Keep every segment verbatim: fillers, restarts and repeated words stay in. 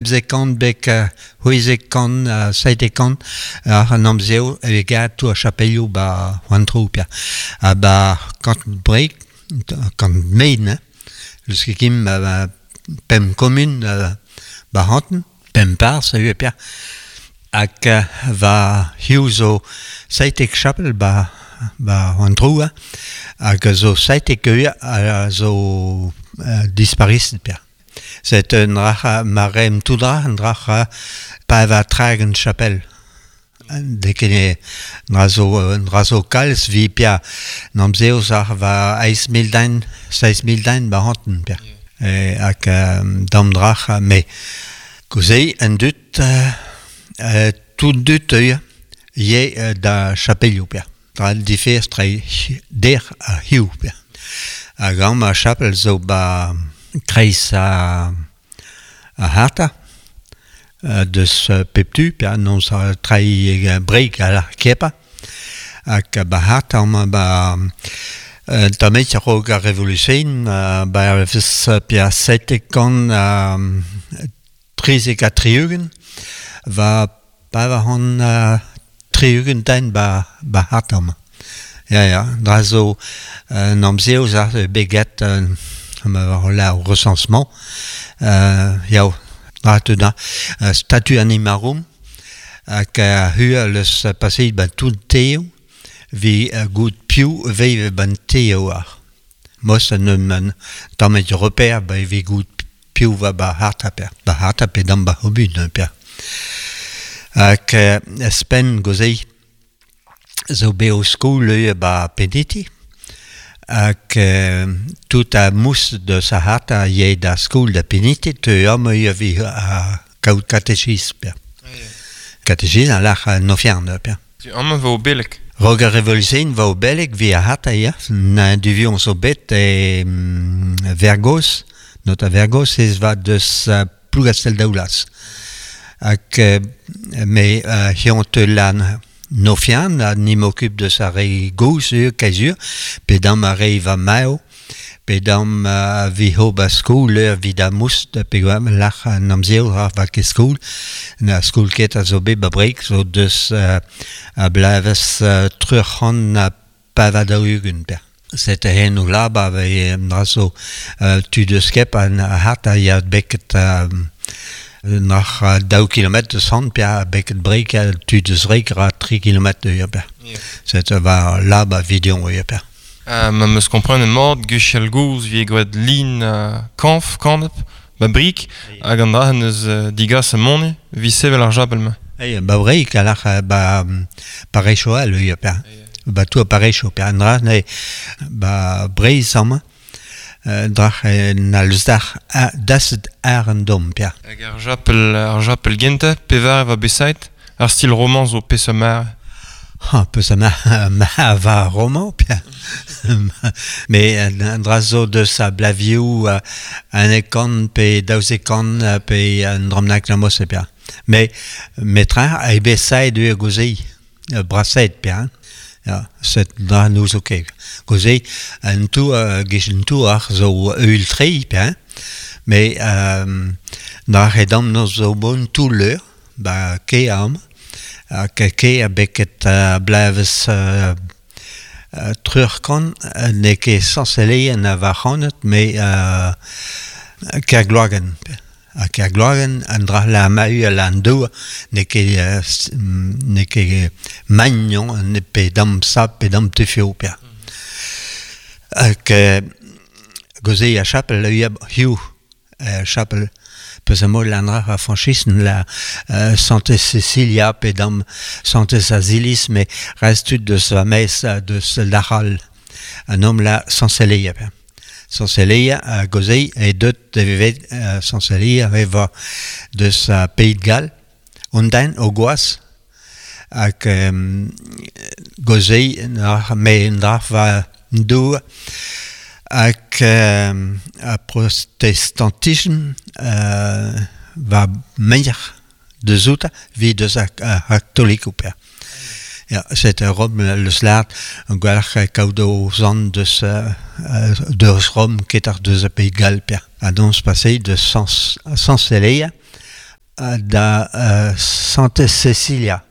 Pemzek kant bek c'hwezek kant seitek kant ar an amzeo e gat tou a chapelioù ba an trou pia. Ha ba kant breik, kant mein, hein. Leus ket kim ba pemp kommun ba hanten, pemp parz a eo pia. Hag va hiziv zo seitek chapel ba ba an trou, hein. Hag zo seitek eo a zo dispariset pia. Set un dra ma reemp tout dra, un dra pa va tragen chapel. De ket dra zo, dra zo kalz vi pia n'amzeo ar va eizh mil den, seizh mil den ba hanten pia. E, hag dam drac'h, me gozei un dud, euh, tout dud eo, ye da chapelioù pia. Dra diferz tre der a hiziv pia. Hag amañ ar chapel zo ba kreiz a, a harta, deus pep tu, pia n'on sa trai breik a la kepa. Hag ba harta amañ ba tamm a-raok ar revolution, ba vez pia seitek kant trizek ha tri-ugent, va pa va hon tri-ugent den ba, ba harta amañ. Ya, ya, dra zo un amzeo za beget ma la recensement, euh, yao, dra te da, statut animarum, hag a hu leus passet ba tout teo, vi gout piv veive ban teo ar. Mos an um tammet repère ba vi gout piv va ba harta per. Ba harta pe dam ba hobun per. Hag spen gozei zo beo skol eo ba Peniti. Hag tout a mous de sa harta ye da skol da Peniti te am eo vi a kaout katechis per. Katechis an lach nofian per. Amañ vo belek. Rog ar revolution va o belek vi a harta ya. Na duvion zo bet e Vergos, not a Vergos ez va deus uh, Plougastel Daoulas. Hag me uh, hion te lan nofian, a ni m'occupe de sa re goz eo kaezur, pe dam a re va mao, pe dam uh, vi ho ba skol eo vi da moust, pe gwa lach an amzeo ar va ket skol, na skol ket a zo bet ba breik, zo deus uh, a blavez uh, truc'han a pavadaougen per. Set hen o laba ve dra zo uh, tu deus kep an hart a ya beket uh, nach daou kilometr deus han pia beket breik a tu deus reik ra tri kilometr eo per. Set va laba vidion eo per. Uh, ma meus komprenet mat, gwechall gozh vi gwad lin uh, kañv, kanep, ba brik, hag an dra eus uh, digas a moni, vi sevel ar japel ma. Ei, ba breik a lach ba parecho al eo per. Ba tou a parecho per. An dra ne ba breiz amañ, drach na leus dach daset ar an dom per. Hag ar japel, ar japel genta, pevar va besait, ar stil roman zo peseurt mar. Ha, peus a ma, ma va roman, pia. Me an dra zo deus a blavioù an e kant pe daouzek kant pe an dramnak la mos e pia. Me metra a e besait eo gozei, braset pia. Ja, set dra nous zo ket. Gozei, an tou, uh, gech an tou ar zo eul trei, pia. Me euh, dra redam no zo bon tout leur, ba ke am, hag ke a beket uh, blavez uh, uh, trurkan ne ket sañseleien a va c'hanet, me uh, kergloagenn. Ha kergloagenn an dra la mahu a la an dour ne ket, uh, ne ket magnon ne pe dam sa pe dam tefio pia. Hag gozei a chapel a hiu chapel peus a mol an dra a franchisen la uh, Santez Cecilia pe dam Santez Azilis, me rest tud deus va mez deus lachal an om la Sanseleia pia. Sanseleia a gozei e deut de vevet uh, Sanseleia e va deus a Pays de Galles, on den o goaz, hag um, gozei nach me dra va dour hag um, a protestantism uh, va meir deus outa vi deus a, a katoliko pia. Ja, set Rom leus lart an gwalc'h kaout o zan deus, uh, deus Rom ket ar deus a Pays de Galles pia. A dons passé de sans, Sanseleia da uh, Santez Cecilia.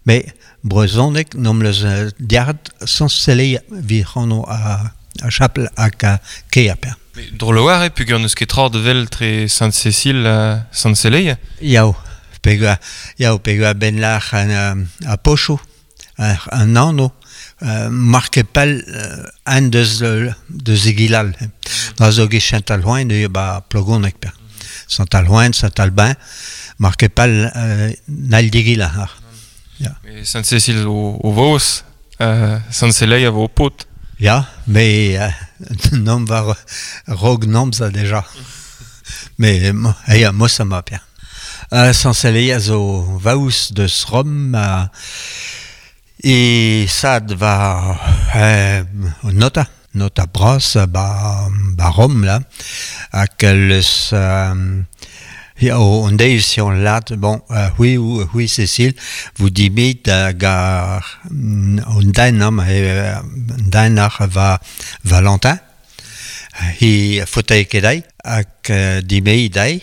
Me brezhoneg nom leus uh, diard Sant-Celeia vi c'hano a, a chapel hag a kea per. Droloar e pugur n'eus ket tra de vel tre Sainte-Cécile uh, Sant-Celeia? Yao, pegur, yao, pegur ben lach an, a pochou, an anno, uh, marke pell uh, an deus, deus egilal. Da zo get Saint-Alhoin de ba plogonek per. Saint-Alhoin, Saint-Albin, marke pell uh, n'al digila. Ja. Sainte-Cécile o, o vos, uh, Sant-Celeia vo o pot. Ja, mais euh, nom var rog nom ça déjà. Mais ja, moi ça m'a bien. Euh, Sant-Celeia zo vaus deus Rom euh, e sad va euh, nota nota bras ba, ba Rom là hag leus euh, Ja, on deiz si on lat, bon, euh, oui, oui, Cécile, vous dimit hag ar un den am, den ar va Valentin, hi fauteuil kedai, hag dimei dai,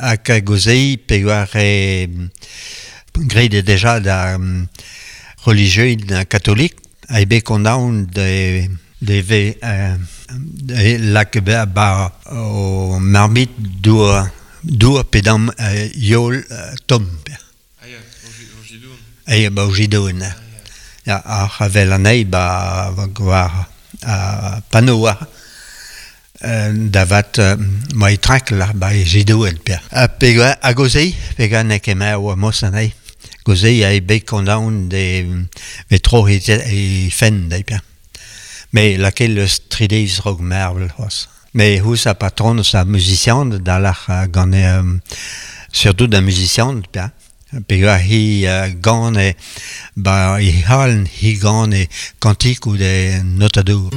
hag gozei pegoar e grede deja da um, religieux catholique, a be kondaon de de ve euh, de lak ba, ba o marmit dour dour pedam euh, yol euh, tom. Ah ya, o jidoun. Ah ba o jidoun. Ya, ar avel anei ba war a pano ar davat ma e trakl ar ba e jidoun per. A pega a gozei, pega ne ket o mos anei. Gozei a e bet kondaon de ve tro e, e fen dei per. Mais laquelle eus trideiz rog mervel c'hoazh. Mais hous a patron sa musician da lach gant euh, surtout da musician bien. Peogwir hi uh, gant e ba i halen hi gant e kantik ou de notadour.